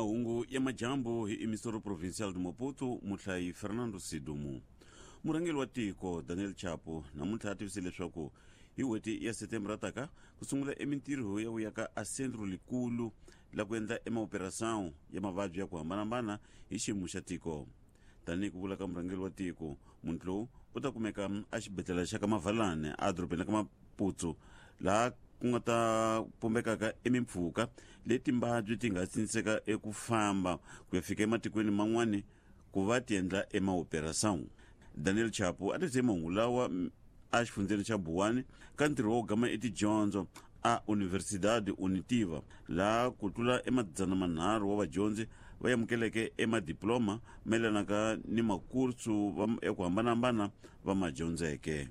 Mahungu ya majambu hi Emissoro Provincial de Maputo, muhlayi Fernando Sidumu. Murhangeri wa tiko Daniel Chapo namuntlha a tivise leswaku hi n'hweti ya Setembra taka ku sungula emintirho ya ku ya ka a centro likulu la ku endla emaoperação ya mavabyi ya ku hambanahambana hi xiyimo xa tiko. Tanihi ku vula ka murhangeri wa tiko, munhu lowu u ta kumeka exibedhlele xa ka Mavalane edorobeni ra ka Maputsu, laha ku nga ta pumbekaka emimpfhuka leyi timbabyi ti nga sindziseka eku famba ku ya fika ematikweni man'wani ku va ti endla emaoperação. Daniel Chapo a tivise mahungu lawa exifundzheni xa Buwani ka ntirho wo gama etidyondzo a Universidade Unitiva, laha ku tlula emadzana manharhu wa vadyondzi va amukeleke emadiploma mayelanaka ni makursu ya ku hambanahambana va ma dyondzeke.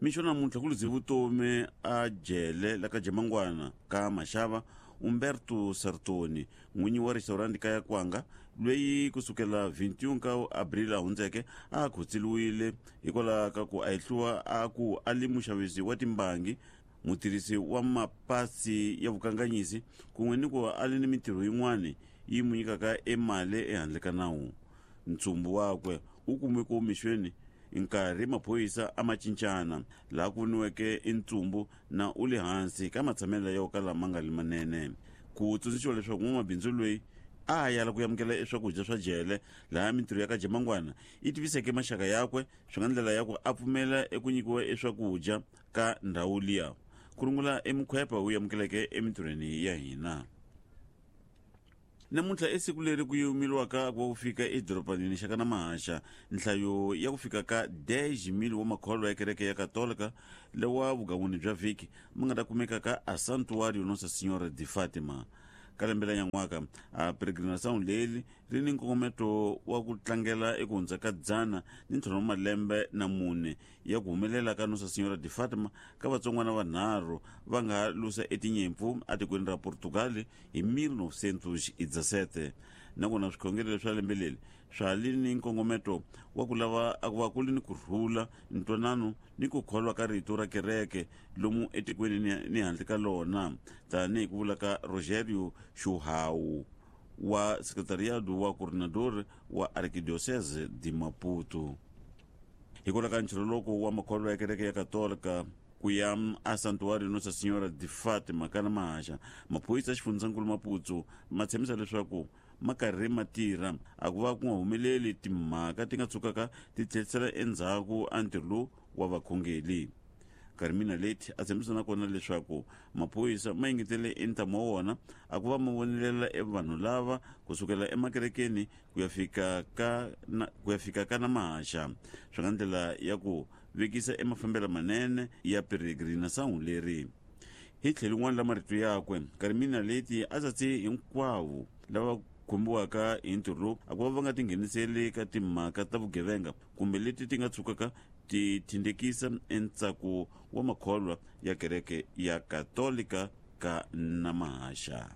Mixo namuntlha ku luze vutomi a jele la ka Jamangwana ka Maxava Umberto Sartoni, n'winyi wa restaurant ka ya Kwanga, loyi kusukela 21 ka Abril a hundzeke a khotseliwile hikwalaho ka ku a hehliwa a ku a li muxavisi wa timbangi, mutirhisi wa mapasi ya vukanganyisi kun'we ni ku a li ni mintirho yin'wana yi n'wi nyikaka emali ehandle ka nawu. Ntsumbu wakwe wu kumiwe ku mixweni nkarhi maphorisa a ma cincana, laha ku voniweke i ntsumbu na u le hansi ka matshamelo yo kala ma nga li manene. Ku tsundzuxiwa leswaku n'wamabindzu loyi a ha yala ku amukela eswakudya swa jele, laha mintirho ya ka Jamangwana yi tiviseke maxaka yakwe swi nga ndlela ya ku a pfumela eku nyikiwa eswakudya ka ndhawu liya. Ku rungula emukhwepa wu amukeleke emintirhweni ya hina. Namuntlha i siku leri ku yimeliwaka ku va ku fika edorobanini xa ka Namahaxa nhlayo ya ku fika ka 10,000 wa makholwa ya kereke ya Katolika lewa vugan'wini bya vhiki ma nga ta kumeka ka a Santuário Nossa Senhora de Fátima. Ka lembe la nyan'waka a peregrinação leri ri ni nkongometo wa ku tlangela eku hundza ka 150 wa malembe na mune ya ku humelela ka Nossa Senhora de Fátima ka vatsongwana vanharhu va nga lusa etinyimpfu etikweni ra Portugal hi 1917. Nakona swikhongelo swa lembe leri swa li ni nkongometo wa ku lava a ku va ku li ni ku rhula, ntwanano ni ku kholwa ka rito ra kereke lomu etikweni ni handle ka lona, tanihi ku vula ka Rogério Chuhau wa Secretariado wa Coordenador wa Arquidiocese de Maputo. Hikwalaho ka nchiroloko wa makholwa ya kereke ya Katolika ku ya a Santuário Nossa Senhora de Fátima ka Namahaxa, maphorisa ya xifundzankulu Maputo ma tshembisa leswaku ma karhi ma tirha a ku va ku nga humeleli timhaka ti nga tshukaka ti tlherisela endzhaku a ntirho lowu wa vakhongeli. Carmina Leti a tshembisa na kona leswaku maphorisa ma engetele entamu wa wona a ku va ma vonelela e vanhu lava kusukela emakerekeni ku ya fika ka na, ku ya fika ka Namahaxa, swi nga ndlela ya ku vekisa emafambelo manene ya peregrinação leri. Hi tlhelo rin'wana la marito yakwe, Carmina Leti a tsatse hinkwavo lava khumbiwaka hi ntirho lowu a ku va va nga tingheniseli ka timhaka ta vugevenga kumbe leti ti nga tshukaka ti thindekisa entsako wa makholwa ya kereke ya Katolika ka Namahaxa.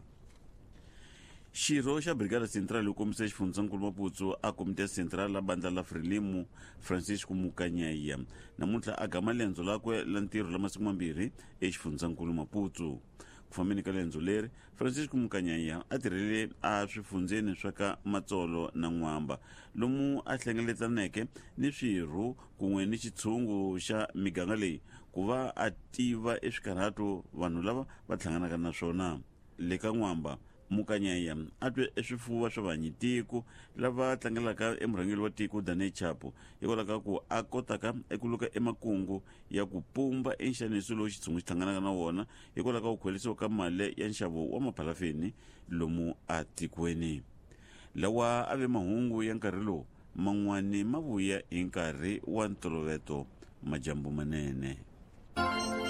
Xirho xa Brigada Central yo kombisa xifundzankulu Maputsu a Komiti ya Central la bandla la Frelimo Francisco Mukanyaiya namuntlha a gama lendzo lakwe la ntirho la masiku mambirhi exifundzankulu Maputsu. Ku fambeni ka lendzo leri, Francisco Mukanyaiya a tirhele a swifundzeni swa ka Matsolo na N'wamba lomu a hlengeletaneke ni swirho kun'we ni xitshungu xa miganga leyi ku va a tiva eswikarhato vanhu lava va hlanganaka na swona. Le ka N'wamba, Mukanyaiya a twe eswifuva swa vahanyitiko lava tlangelaka emurhangeri wa tiko Daniel Chapo hikwalaho ka ku a kotaka eku luka emakungu ya ku pumba enxaniso lowu xitshungu xi hlanganaka na wona hikwalaho ka ku khwelisiwa ka mali ya nxavo wa maphalafeni lomu atikweni. Lawa a ve mahungu ya nkarhi lowu man'wani ma vuya hi nkarhi wa ntoloveto. Majambu manene.